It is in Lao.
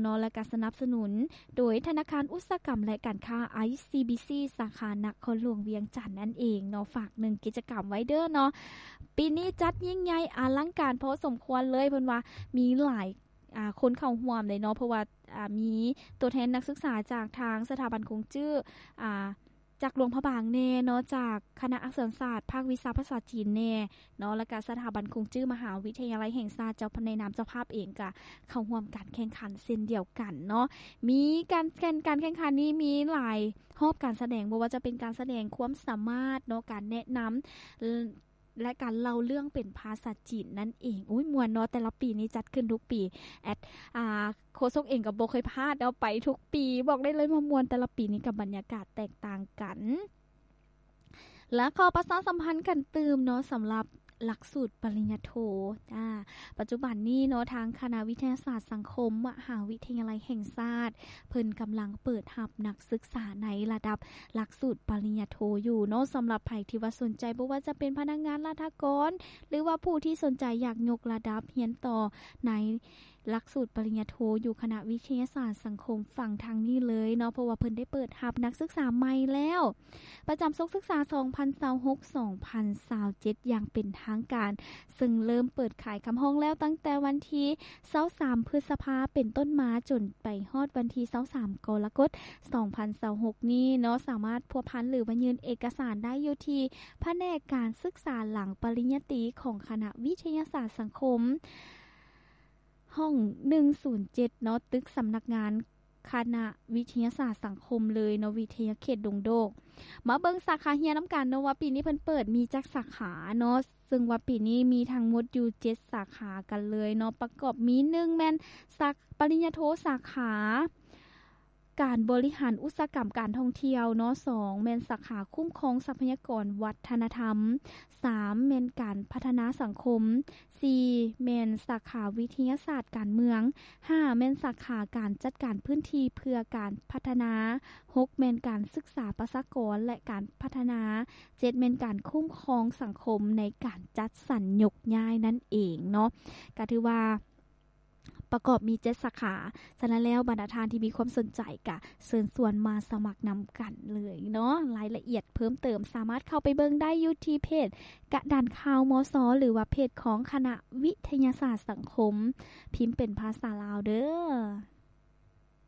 ເນາະ ແລະກະສະໜັບສະໜູນໂດຍທະນາຄານອຸດສາຫະກຳ ແລະ ການຄ້າ ໄອຊີບີຊີ ສາຂານະຄອນຫຼວງວຽງຈັນນັ້ນເອງເນາະ. ຝາກໜຶ່ງກິດຈະກຳໄວ້ເດີເນາະ. ປີນີ້ຈັດຍິ່ງໃຫຍ່ອະລັງການພໍສົມຄວນເລີຍ ເພິ່ນວ່າມີຫຼາຍ ອາ ຄົນເຂົ້າຮ່ວມເລີຍເນາະ ເພາະວ່າ ອາ ມີຕົວແທນນັກສຶກສາຈາກທາງສະຖາບັນກົງຈື້ ອາ ຈາກຫຼວງພະບາງແດ່ເນາະ ຈາກຄະນະອັກສອນສາດ ພາກວິຊາພາສາຈີນແດ່ເນາະ ແລ້ວກະສະຖາບັນກົງຈື້ມະຫາວິທະຍາໄລແຫ່ງຊາດ ເຈົ້າ ໃນນາມເຈົ້າພາບເອງກະເຂົ້າຮ່ວມການແຂ່ງຂັນເຊັ່ນດຽວກັນເນາະ. ມີການແຂ່ງ ການແຂ່ງຂັນນີ້ມີຫຼາຍຮອບການສະແດງ ບໍ່ວ່າຈະເປັນການສະແດງຄວາມສາມາດເນາະ ການແນະນຳ ແລະ ການເລົ່າເລື່ອງເປັນພາສາຈີນນັ້ນເອງ. ໂອ້ຍ ມ່ວນເນາະ ແຕ່ລະປີນີ້ຈັດຂຶ້ນທຸກປີ. ແອດ ອາ ໂຄສົກເອງກໍບໍ່ເຄີຍພາດເນາະ ໄປທຸກປີ ບອກໄດ້ເລີຍວ່າມ່ວນ ແຕ່ລະປີນີ້ກໍບັນຍາກາດແຕກຕ່າງກັນ. ແລະ ຂໍປະຊາສຳພັນກັນຕື່ມເນາະ ສຳລັບຫຼັກສູດປະລິນຍາໂທ ອາ ປັດຈຸບັນນີ້ເນາະ ທາງຄະນະວິທະຍາສາດສັງຄົມ ມະຫາວິທະຍາໄລແຫ່ງຊາດ ເພິ່ນກຳລັງເປີດຮັບນັກສຶກສາໃນລະດັບຫຼັກສູດປະລິນຍາໂທຢູ່ເນາະ. ສຳລັບໃຜທີ່ວ່າສົນໃຈ ບໍ່ວ່າຈະເປັນພະນັກງານລັດຖະກອນ ຫຼືວ່າຜູ້ທີ່ສົນໃຈຢາກຍົກລະດັບຮຽນຕໍ່ໃນຫຼັກສູດປະລິນຍາໂທຢູ່ຄະນະວິທະຍາສາດສັງຄົມ ຟັງທາງນີ້ເລີຍເນາະ ເພາະວ່າເພິ່ນໄດ້ເປີດຮັບນັກສຶກສາໃໝ່ແລ້ວ ປະຈຳສົກສຶກສາສອງພັນຊາວຫົກ ສອງພັນຊາວເຈັດ ຢ່າງເປັນທາງການ, ເຊິ່ງເລີ່ມເປີດຂາຍຄຳຮ້ອງແລ້ວຕັ້ງແຕ່ວັນທີຊາວສາມ ພຶດສະພາເປັນຕົ້ນມາ ຈົນໄປຮອດວັນທີຊາວສາມ ກໍລະກົດ ສອງພັນຊາວຫົກນີ້ເນາະ. ສາມາດພົວພັນ ຫຼືວ່າຍື່ນເອກະສານໄດ້ຢູ່ທີ່ພະແນກການສຶກສາຫຼັງປະລິນຍາຕີຂອງຄະນະວິທະຍາສາດສັງຄົມ ຫ້ອງໜຶ່ງສູນເຈັດເນາະ, ຕຶກສຳນັກງານຄະນະວິທະຍາສາດສັງຄົມເລີຍເນາະ, ວິທະຍາເຂດດົງໂດກ. ມາເບິ່ງສາຂາຮຽນນຳກັນເນາະ ວ່າປີນີ້ເພິ່ນເປີດມີຈັກສາຂາເນາະ, ເຊິ່ງວ່າປີນີ້ມີທັງໝົດຢູ່ເຈັດສາຂາກັນເລີຍເນາະ, ປະກອບມີ ໜຶ່ງ ແມ່ນສາ ປະລິນຍາໂທສາຂາ ການບໍລິຫານອຸດສາຫະກຳການທ່ອງທ່ຽວເນາະ, ສອງ ແມ່ນສາຂາຄຸ້ມຄອງຊັບພະຍາກອນວັດທະນະທຳ, ສາມ ແມ່ນການພັດທະນາສັງຄົມ, ສີ່ ແມ່ນສາຂາວິທະຍາສາດການເມືອງ, ຫ້າ ແມ່ນສາຂາການຈັດການພື້ນທີ່ເພື່ອການພັດທະນາ, ຫົກ ແມ່ນການສຶກສາປະຊາກອນ ແລະ ການພັດທະນາ, ເຈັດ ແມ່ນການຄຸ້ມຄອງສັງຄົມໃນການຈັດສັນຍົກຍ້າຍນັ້ນເອງເນາະ. ກະຖືວ່າ ປະກອບມີເຈັດສາຂາ. ສະນັ້ນແລ້ວ ບັນດາທ່ານທີ່ມີຄວາມສົນໃຈກະເຊີນຊວນມາສະໝັກນຳກັນເລີຍເນາະ. ລາຍລະອຽດເພີ່ມເຕີມສາມາດເຂົ້າໄປເບິ່ງໄດ້ຢູ່ທີ່ເພຈກະດານຂ່າວ ມສ ຫຼືວ່າເພຈຂອງຄະນະວິທະຍາສາດສັງຄົມ, ພິມເປັນພາສາລາວເດີ້.